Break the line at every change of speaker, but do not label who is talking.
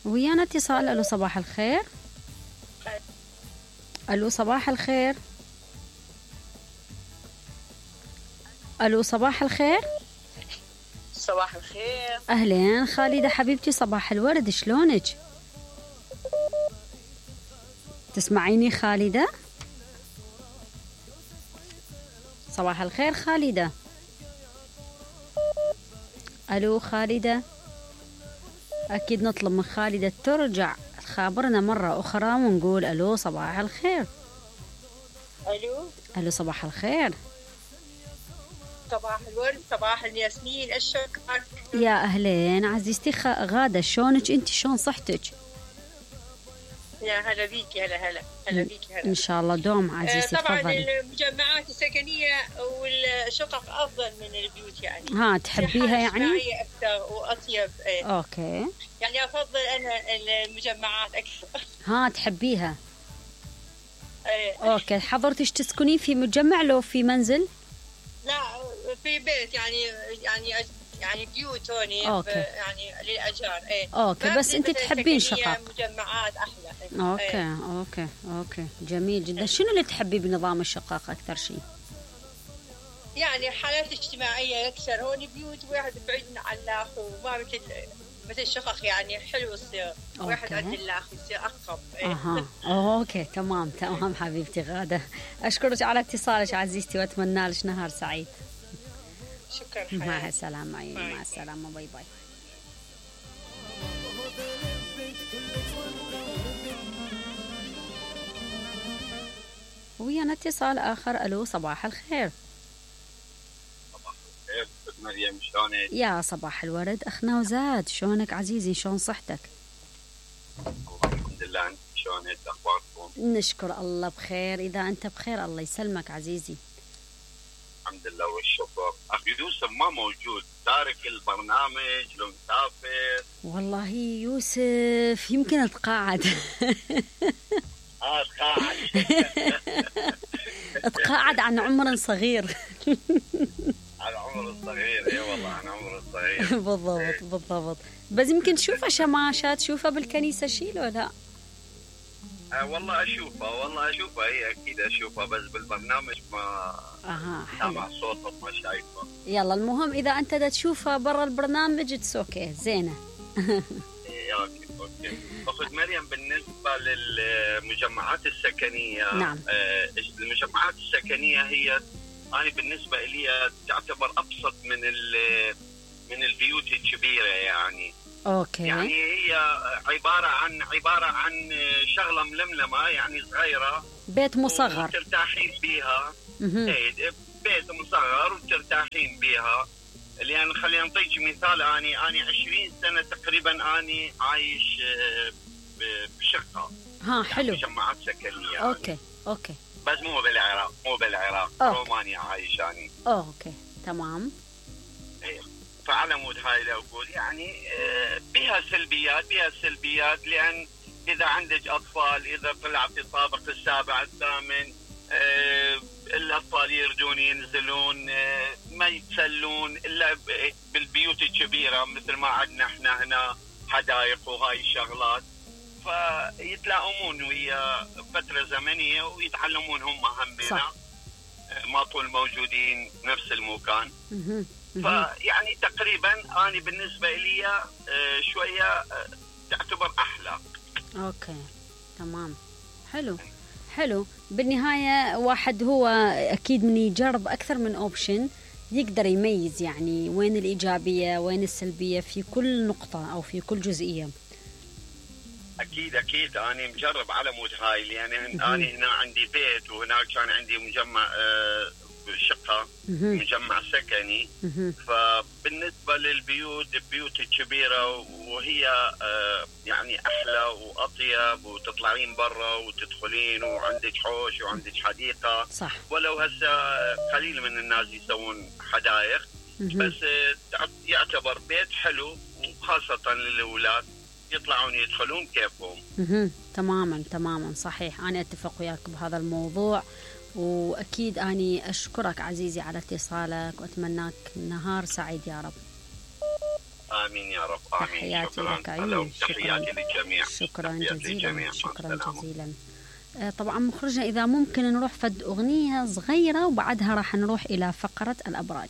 ويانا اتصال. الو صباح الخير. الو صباح الخير. الو صباح الخير.
صباح الخير.
اهلين خالدة حبيبتي، صباح الورد، شلونك؟ تسمعيني خالدة؟ صباح الخير خالدة. الو خالدة. اكيد نطلب من خالدة ترجع تخابرنا مرة اخرى ونقول الو صباح الخير.
الو.
الو صباح الخير.
صباح الورد، صباح الياسمين، الشكر.
يا اهلين عزيزتي غادة، شلونك انت؟ شلون صحتك؟
يا هلا بيكي. هلا بيكي. هلا
ان شاء الله دوم عزيزتي.
طبعا
تفضلي.
المجمعات السكنيه والشقق افضل من البيوت يعني.
ها تحبيها يعني؟
اجتماعيه اكثر واطيب.
اوكي.
يعني افضل انا المجمعات اكثر.
ها تحبيها؟ اوكي. حضرتك تسكنين في مجمع لو في منزل؟
لا في بيت يعني بيوت هوني يعني للاجار.
اوكي. بس انت تحبين شقق؟
مجمعات احلى.
اوكي جميل جدا. شنو اللي تحبي بنظام الشقق اكثر شيء؟
يعني حالات اجتماعيه اكثر. هون بيوت واحد بعيد عن الاخر وما مثل الشقق يعني حلو يصير واحد عند الاخر يصير اقرب.
اوكي تمام حبيبتي غادة، اشكرك على اتصالك عزيزتي واتمنى لك نهار سعيد.
شكرا.
مع السلامة. مع السلامة. باي باي. ويانا اتصال آخر. ألو صباح الخير.
صباح الخير مريم، شلونك؟
يا صباح الورد أخنا وزاد، شلونك عزيزي؟ شلون صحتك؟
الحمد لله. أنت شلونك؟ أخباركم؟
نشكر الله بخير. إذا أنت بخير الله يسلمك عزيزي.
الحمد لله والشكر. أخي يوسف ما موجود، تارك البرنامج لو مسافر.
والله يوسف يمكن تقاعد.
تقاعد.
تقاعد عن عمر صغير.
عن عمر الصغير. اي والله عن عمر الصغير.
بالضبط. بس يمكن تشوفها شماشات، تشوفها بالكنيسة شي لو لا؟
والله اشوفها هي اكيد اشوفها، بس بالبرنامج ما سامع صوتها ما شايفها.
يلا المهم اذا انت دا تشوفها برا البرنامج اوكي زينه.
اوكي. اخت مريم، بالنسبه للمجمعات السكنيه،
نعم.
المجمعات السكنيه هي انا بالنسبه لي تعتبر ابسط من البيوت الكبيره يعني.
اوكي.
يعني هي عباره عن شغله ململمه يعني صغيره،
بيت مصغر
وترتاحين فيها. بيت مصغر وترتاحين بيها. لان خلينا نعطيك مثال، اني 20 سنه تقريبا اني عايش بشقه.
حلو.
مجمعات سكنيه.
اوكي.
بس مو بالعراق. رومانيا عايش اني.
اوكي تمام.
فعلى مود هاي لو اقول يعني بها سلبيات، لان اذا عندك اطفال، اذا طلع في الطابق السابع الثامن، الاطفال يردون ينزلون، ما يتسلون الا بالبيوت الكبيره مثل ما عندنا احنا هنا حدائق وهاي الشغلات، فيتلاؤمون ويا فتره زمنيه ويتعلمون هم همنا. ما طول موجودين نفس المكان. فيعني تقريبا انا بالنسبه لي شويه تعتبر احلى.
اوكي تمام. حلو. بالنهايه واحد هو اكيد من يجرب اكثر من اوبشن يقدر يميز يعني وين الايجابيه وين السلبيه في كل نقطه او في كل جزئيه.
اكيد انا مجرب على مود هاي، لان انا هنا عندي بيت وهناك كان عندي مجمع شقه، مجمع سكني. فبالنسبه للبيوت الكبيره وهي يعني احلى واطيب، وتطلعين برا وتدخلين وعندك حوش وعندك حديقه.
صح.
ولو هسه قليل من الناس يسوون حدائق، بس يعتبر بيت حلو، وخاصه للاولاد يطلعون يدخلون كيفهم.
تماما صحيح. انا اتفق وياك بهذا الموضوع، واكيد اني اشكرك عزيزي على اتصالك واتمناك نهار سعيد يا رب.
آمين يا رب. آمين.
تحياتي لك عيوني.
تحياتي للجميع.
شكرا جزيلا. شكرا جزيلا. طبعا مخرجنا إذا ممكن نروح فد أغنية صغيرة وبعدها راح نروح إلى فقرة الأبراج.